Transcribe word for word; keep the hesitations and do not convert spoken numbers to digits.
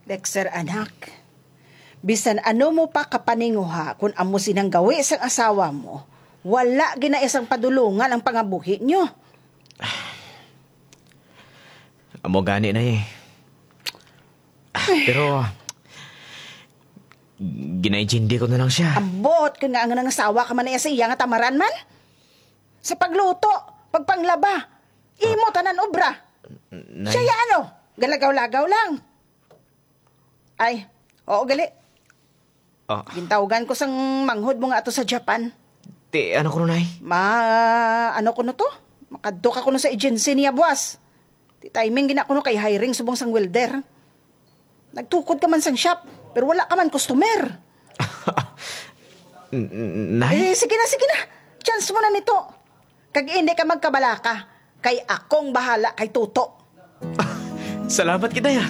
Dexter, anak, bisan ano mo pa kapaninguha kun amo sinang gawi sang asawa mo, wala gina isang padulungan ang pangabuhi nyo. Amo gani na eh. Pero, ginaintindi ko na lang siya. Ambot, kung nga ang nangasawa ka man na sa iya nga tamaran man. Sa pagluto, pagpanglaba, imo tanan obra. Nay. Siya ya ano, galagaw-lagaw lang. Ay, oo gali. Ah, Gintawgan ko sang manghod mo nga ato sa Japan. ti, ano ko, Nay? Ma, ano ko no to? Makadto ka kuno sa agency niya, buwas. Ti timing gina kuno kay hiring subong sang welder. Nagtukod ka man sang shop, pero wala ka man customer. N- n- Nay? Eh, sige na, sige na. Chance mo na nito. Kag hindi ka magkabalaka, kay akong bahala kay Tuto. Salamat kita ya.